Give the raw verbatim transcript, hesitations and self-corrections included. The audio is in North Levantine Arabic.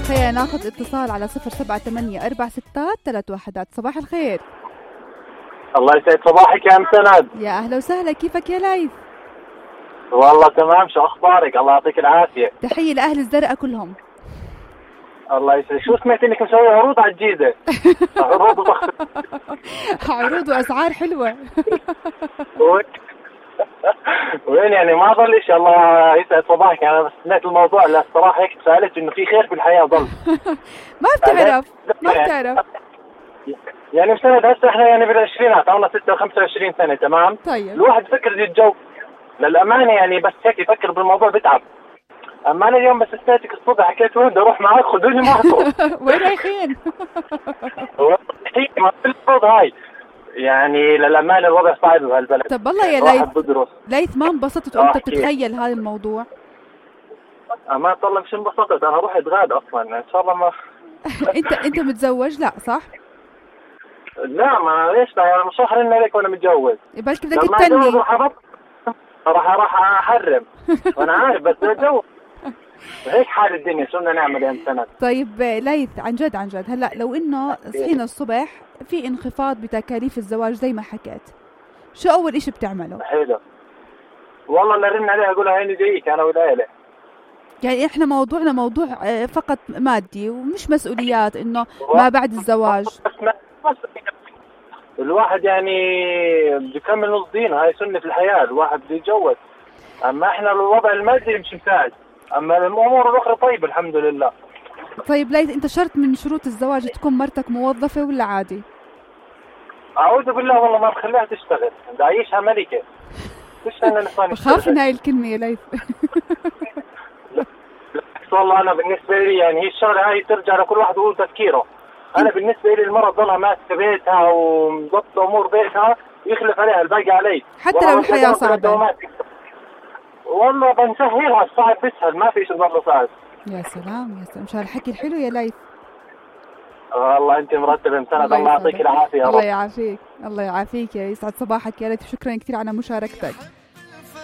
خلينا ناخذ اتصال على صفر سبعة ثمانية أربعة ستات ثلاث واحدات. صباح الخير. الله يسعد صباحك يا ام سند. يا اهلا وسهلا، كيفك يا ليث؟ والله تمام، شو اخبارك؟ الله يعطيك العافيه. تحيه لاهل الزرقاء كلهم. الله يسعدك. شو سمعت انك مسوي عروض على الجيزه؟ عروض وضخ عروض واسعار حلوه. وين يعني ما ضل شيء. الله يسعد صباحك. انا بس سمعت الموضوع، لا الصراحه هيك سالت انه في خير في الحياه ضل. ما بتعرف ما بتعرف يعني مسند هسه احنا يعني بالعشرينات، عمرنا ستة وخمسة وعشرين سنه، تمام؟ طيب الواحد يفكر يتجوز للامانه، يعني بس هيك يفكر بالموضوع بتعب. اما انا اليوم بس سمعتك الصبح حكيت وين بدي اروح معك، خذوني معكم. وين رايحين؟ ما في الفوض هاي، يعني للامانه الوضع صعب بهالبلد. طب والله يا ليث، ليث ما انبسطت وانت بتتخيل هذا الموضوع؟ ما طلع مش انبسطت، انا روح اتغاد اصلا ان شاء الله. ما انت انت متزوج؟ لا صح؟ لا ما ليش، انا مش راح ارن عليك وانا متجوز. بلكي بدك تتني. راح راح احرم وانا عارف، بس اتجوز. هيك حال الدنيا، شو بدنا نعمل يا سند؟ طيب ليث، عن جد عن جد هلا لو انه صحينا الصبح في انخفاض بتكاليف الزواج زي ما حكيت، شو اول اشي بتعمله؟ حلو والله، نرن عليها اقولها هيني جايك انا والعيله. يعني احنا موضوعنا موضوع فقط مادي ومش مسؤوليات انه ما بعد الزواج. الواحد يعني بده يكمل نص دينه، هاي سنة الحياة، الواحد بده يتجوز. اما احنا الوضع المادي مش مساعد، اما الامور الاخرى طيبة الحمد لله. طيب ليث، انت شرط من شروط الزواج تكون مرتك موظفة ولا عادي؟ اعوذ بالله، والله ما بخليها تشتغل، بدي اعيشها ملكة. فيش انا لساني بخاف من هاي الكلمة يا ليث. والله انا بالنسبة لي يعني هي الشغلة هاي ترجع لكل واحد وهو تفكيره. انا بالنسبة لي المرأة تضلها ماسكة بيتها ومضبطة امور بيتها، يخلف عليها الباقي علي، حتى لو الحياة صعبة. والله بنسهلها، الصعب بيسهل، ما في شيء ضل صعب. يا سلام يا سلام، مش هالحكي الحلو يا ليث. والله انت مرتبة مسند، الله يعطيك العافية. الله يعافيك، الله يعافيك، يا يسعد صباحك يا ليث، شكرا كثير على مشاركتك.